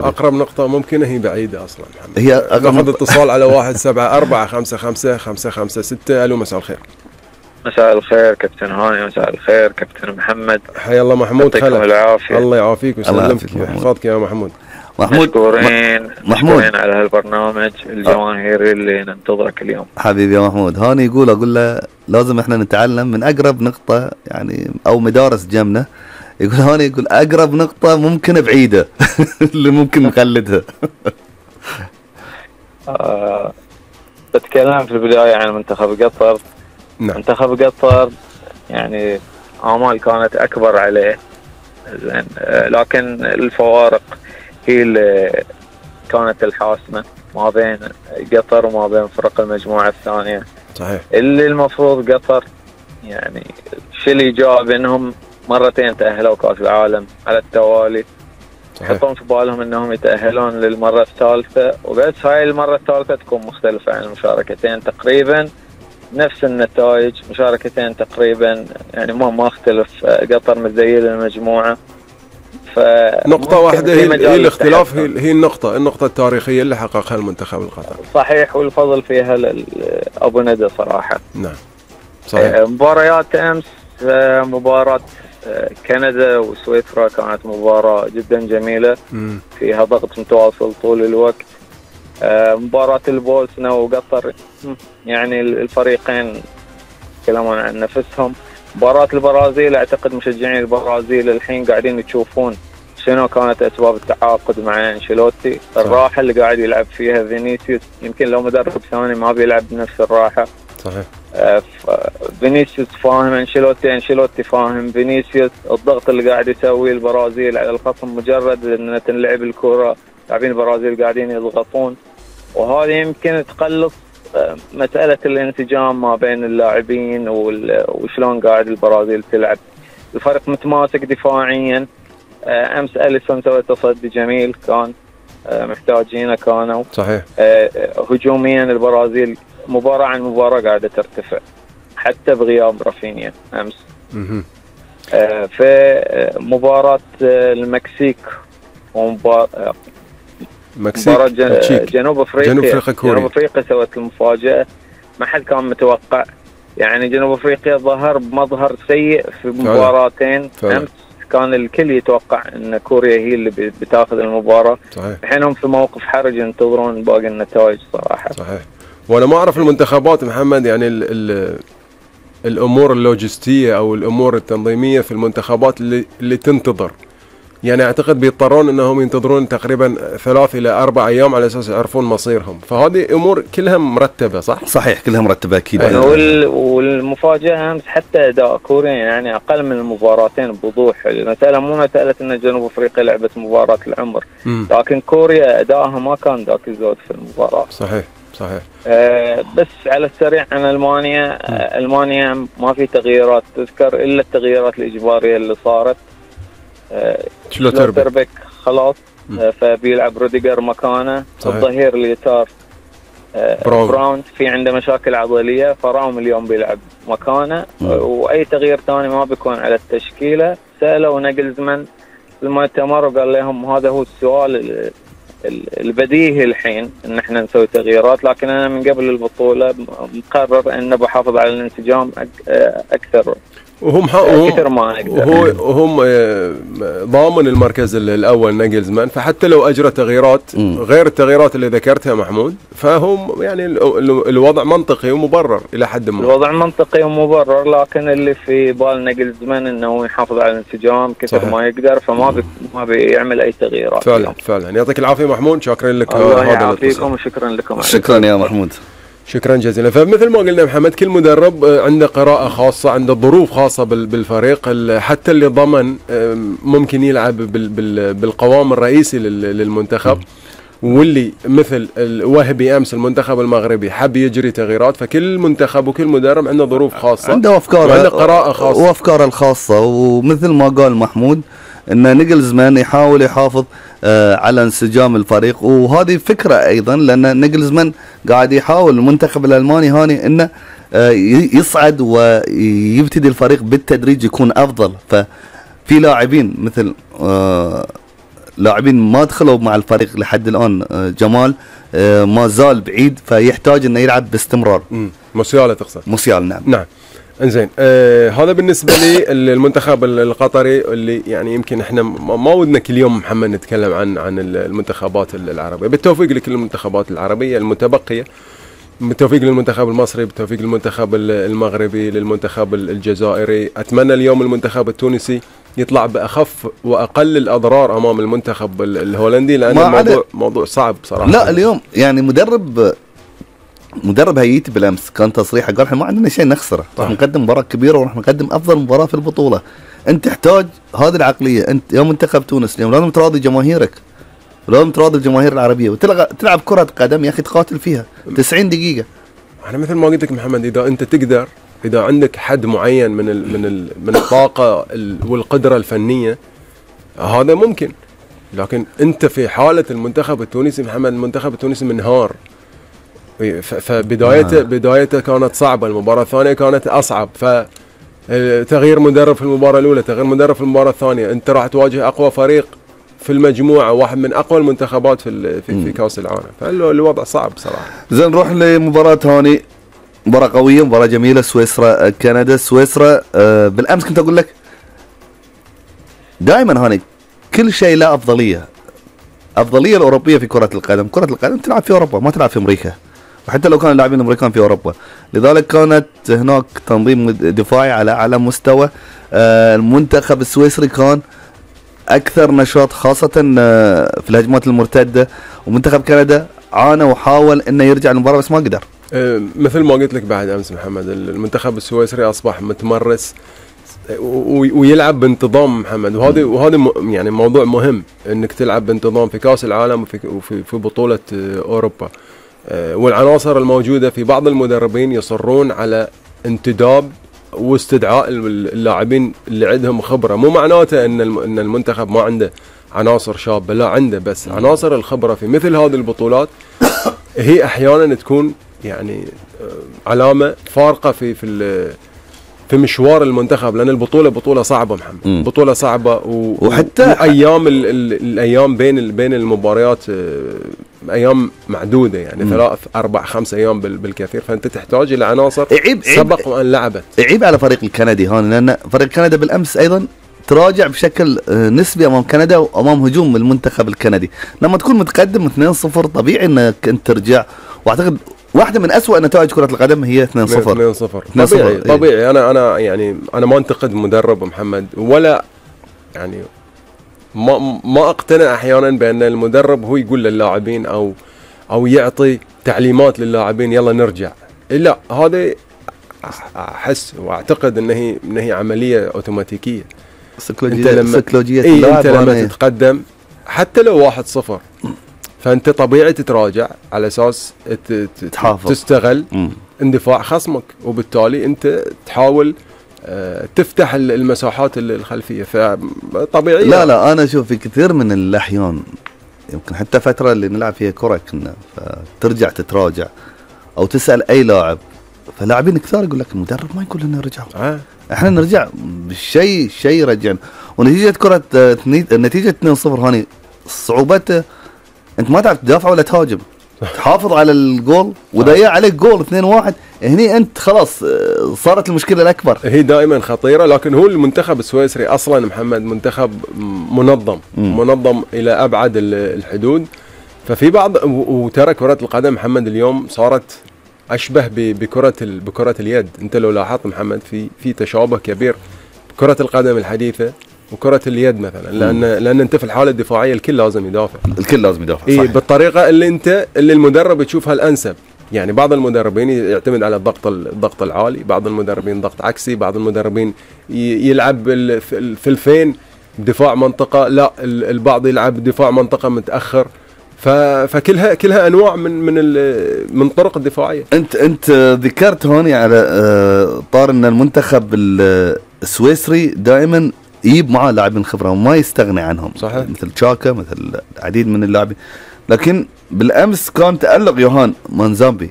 اقرب نقطة ممكنة هي بعيدة اصلا محمد. هي اقرب ناخذ اتصال على 174555556. الو مساء الخير. مساء الخير كابتن هاني، مساء الخير كابتن محمد. حيا الله محمود خلف. يعطيكم العافية. الله يعافيك ويسلمك ويحفظك يا محمود. مشكورين على هالبرنامج الجماهيري اللي ننتظرك اليوم. حبيبي يا محمود. هاني اقول له لازم احنا نتعلم من اقرب نقطة يعني او مدارس جنبنا. يقول هاني يقول اقرب نقطة ممكن بعيدة اللي ممكن نقلدها. بتكلم في البداية عن منتخب قطر. نعم. منتخب قطر يعني آمال كانت أكبر عليه، زين، لكن الفوارق هي اللي كانت الحاسمة ما بين قطر وما بين فرق المجموعة الثانية. صحيح. اللي المفروض قطر يعني الشيء اللي جاء انهم مرتين تأهلوا كأس العالم على التوالي، يحطون في بالهم انهم يتأهلون للمرة الثالثة، وبس هاي المرة الثالثة تكون مختلفة عن المشاركتين تقريبا، نفس النتائج، مشاركتين تقريبا يعني ما اختلف. قطر متزيل المجموعة، نقطة واحدة هي الاختلاف، هي النقطة التاريخية اللي حققها المنتخب القطري. صحيح، والفضل فيها أبو ندى صراحة. نعم صحيح. مباريات أمس، مباراة كندا وسويسرا كانت مباراة جدا جميلة فيها ضغط متواصل طول الوقت. مباراة البوسنة وقطر يعني الفريقين يتكلمون عن نفسهم. مباراة البرازيل اعتقد مشجعين البرازيل الحين قاعدين تشوفون شنو كانت اسباب التعاقد مع انشيلوتي. الراحة اللي قاعد يلعب فيها فينيسيوس، يمكن لو مدرب ثاني ما بيلعب بنفس الراحة. صحيح. فينيسيوس فاهم انشيلوتي فاهم فينيسيوس. الضغط اللي قاعد يسويه البرازيل على الخصم، مجرد ان تنلعب الكرة لاعبين البرازيل قاعدين يضغطون، وهذه يمكن تقلص مسألة الانسجام ما بين اللاعبين وشلون قاعد البرازيل تلعب. الفريق متماسك دفاعيا. أمس أليسون سوى تصدي جميل، كان محتاجينه كانوا. صحيح. هجوميا البرازيل مباراة عن مباراة قاعدة ترتفع حتى بغياب رافينيا أمس. في مباراة المكسيك ومباراة جنوب أفريقيا سوت المفاجأة، ما حد كان متوقع. يعني جنوب أفريقيا ظهر بمظهر سيء في مباراتين أمس، كان الكل يتوقع أن كوريا هي اللي بتاخذ المباراة. الحين هم في موقف حرج ينتظرون باقي النتائج صراحة. صحيح. وأنا ما أعرف المنتخبات محمد، يعني الأمور اللوجستية أو الأمور التنظيمية في المنتخبات اللي تنتظر، يعني اعتقد بيضطرون انهم ينتظرون تقريبا 3 إلى 4 أيام على اساس يعرفون مصيرهم، فهذه امور كلها مرتبه. صحيح كلها مرتبه اكيد. والمفاجاه امس حتى اداء كوريا يعني اقل من المباراتين بوضوح. المساله مو مساله ان جنوب افريقيا لعبت مباراه العمر، لكن كوريا ادائها ما كان ذاك الزود في المباراه. صحيح. بس على السريع عن المانيا ما في تغييرات تذكر الا التغييرات الاجباريه اللي صارت. شلوتربيك خلاص، فبيلعب روديجر مكانه. الظهير اليسار براون في عنده مشاكل عضلية، فراوم اليوم بيلعب مكانه. واي تغيير ثاني ما بيكون على التشكيلة. سألوا ناجلزمان المؤتمر وقال لهم هذا هو السؤال البديهي الحين ان احنا نسوي تغييرات، لكن انا من قبل البطولة مقرر ان بحافظ على الانسجام اكثر. وهم ضامن المركز الاول ناجلزمان، فحتى لو اجرى تغييرات غير التغييرات اللي ذكرتها محمود، فهم يعني الوضع منطقي ومبرر الى حد ما. الوضع منطقي ومبرر، لكن اللي في بال ناجلزمان انه يحافظ على الانسجام كثر ما يقدر، فما ما بيعمل اي تغييرات. فعلا يعطيك العافيه محمود، شكرا لك. الله يعافيكم وشكرا لكم. شكرا يا محمود، شكرا جزيلا. فمثل ما قلنا محمد، كل مدرب عنده قراءة خاصة، عنده ظروف خاصة بالفريق. حتى اللي ضمن ممكن يلعب بالقوام الرئيسي للمنتخب، واللي مثل الوهبي امس المنتخب المغربي حب يجري تغييرات. فكل منتخب وكل مدرب عنده ظروف خاصة، عنده افكار وعنده قراءة خاصة وافكاره الخاصة. ومثل ما قال محمود ان نيجلزمان يحاول يحافظ على انسجام الفريق، وهذه فكرة ايضا، لان نيجلزمان قاعد يحاول المنتخب الالماني هاني انه يصعد ويبتدي الفريق بالتدريج يكون افضل. ففي لاعبين مثل لاعبين ما دخلوا مع الفريق لحد الان. جمال ما زال بعيد، فيحتاج انه يلعب باستمرار. موسيالا تقصد؟ موسيالا نعم. نعم انزين. هذا بالنسبه لي المنتخب القطري، اللي يعني يمكن احنا ما ودنا كل يوم محمد نتكلم عن المنتخبات العربيه. بالتوفيق لكل المنتخبات العربيه المتبقيه، بالتوفيق للمنتخب المصري، بالتوفيق للمنتخب المغربي، للمنتخب الجزائري. اتمنى اليوم المنتخب التونسي يطلع باخف واقل الاضرار امام المنتخب الهولندي، لان الموضوع موضوع صعب صراحه. لا اليوم يعني مدرب هيئتي بالامس كان تصريحه قال احنا ما عندنا شيء نخسره، راح نقدم مباراه كبيره وراح نقدم افضل مباراه في البطوله. انت تحتاج هذه العقليه. انت يا منتخب تونس اليوم لازم تراضي جماهيرك، لازم تراضي الجماهير العربيه وتلعب كره قدم يا اخي، تقاتل فيها 90 دقيقه. انا مثل ما قلت لك محمد، اذا انت تقدر، اذا عندك حد معين من الطاقه والقدره الفنيه، هذا ممكن. لكن انت في حاله المنتخب التونسي محمد، المنتخب التونسي منهار. بدايته كانت صعبه، المباراه الثانيه كانت اصعب، فتغيير مدرب في المباراه الاولى، تغيير مدرب في المباراه الثانيه، انت راح تواجه اقوى فريق في المجموعه، واحد من اقوى المنتخبات في كاس العالم، فالوضع صعب صراحه. زين نروح لمباراه ثانيه، مباراه قويه، مباراه جميله، سويسرا كندا. سويسرا بالامس كنت اقول لك دائما هاني كل شيء له افضليه الاوروبيه في كره القدم. كره القدم تلعب في اوروبا، ما تلعب في امريكا، وحتى لو كان اللاعبين الامريكان في اوروبا. لذلك كانت هناك تنظيم دفاعي على اعلى مستوى. المنتخب السويسري كان اكثر نشاط خاصه في الهجمات المرتده، ومنتخب كندا عانى وحاول انه يرجع المباراه بس ما قدر. مثل ما قلت لك بعد امس محمد، المنتخب السويسري اصبح متمرس ويلعب بانتظام محمد، وهذا يعني موضوع مهم، انك تلعب بانتظام في كاس العالم وفي بطوله اوروبا. والعناصر الموجوده في بعض المدربين يصرون على انتداب واستدعاء اللاعبين اللي عندهم خبره. مو معناته ان المنتخب ما عنده عناصر شابه، لا عنده، بس عناصر الخبره في مثل هذه البطولات هي احيانا تكون يعني علامه فارقه في مشوار المنتخب، لان بطوله صعبه محمد، بطوله صعبه، وحتى ايام الايام بين المباريات ايام معدوده، يعني 3 4 5 ايام بالكثير، فانت تحتاج الى عناصر سبق وان لعبت. عيب على فريق الكندي هون، لان فريق كندا بالامس ايضا تراجع بشكل نسبي امام كندا وامام هجوم المنتخب الكندي. لما تكون متقدم 2-0 طبيعي انك انت ترجع، واعتقد واحدة من أسوأ نتائج كرة القدم هي 2-0. طبيعي. أنا يعني أنا ما أنتقد مدرب محمد، ولا يعني ما أقتنع أحيانا بأن المدرب هو يقول للاعبين أو يعطي تعليمات للاعبين يلا نرجع. لا، هذا أحس وأعتقد أن هي عملية أوتوماتيكية. سيكولوجية أنت لما تتقدم حتى لو 1-0 فانت طبيعي تتراجع على اساس تستغل اندفاع خصمك، وبالتالي انت تحاول تفتح المساحات الخلفيه، فطبيعي. لا انا اشوف في كثير من الاحيان، يمكن حتى فتره اللي نلعب فيها كره كنا فترجع تتراجع او تسال اي لاعب، فلاعبين كثار يقول لك المدرب ما يقول لنا رجعوا، احنا نرجع بالشيء يرجعنا. ونتيجه كره نتيجه 2-0 هاني صعوبته انت ما تعرف تدافع ولا تهاجم، تحافظ على الجول وضيع عليك جول 2-1، هني انت خلاص صارت المشكله الاكبر. هي دائما خطيره، لكن هو المنتخب السويسري اصلا محمد منتخب منظم الى ابعد الحدود. ففي بعض، وترى كره القدم محمد اليوم صارت اشبه بكره اليد. انت لو لاحظت محمد في تشابه كبير كره القدم الحديثه وكرة اليد مثلا، لأن أنت في الحالة الدفاعية الكل لازم يدافع. صحيح. بالطريقة اللي المدرب يشوفها الأنسب. يعني بعض المدربين يعتمد على الضغط العالي، بعض المدربين ضغط عكسي، بعض المدربين يلعب الثلثين دفاع منطقة، لا البعض يلعب دفاع منطقة متأخر. فكلها أنواع من طرق الدفاعية. أنت ذكرت هون على طار أن المنتخب السويسري دائما يجيب معاه لاعبين خبره وما يستغني عنهم، صحيح. مثل تشاكا، مثل العديد من اللاعبين. لكن بالامس كان تالق يوهان مانزامبي،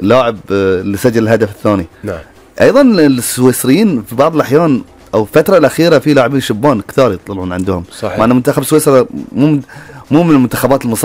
اللاعب اللي سجل الهدف الثاني. نعم. ايضا السويسريين في بعض الاحيان او الفتره الاخيره في لاعبين شبان كثار يطلعون عندهم. صحيح. مع ان منتخب سويسرا مو من المنتخبات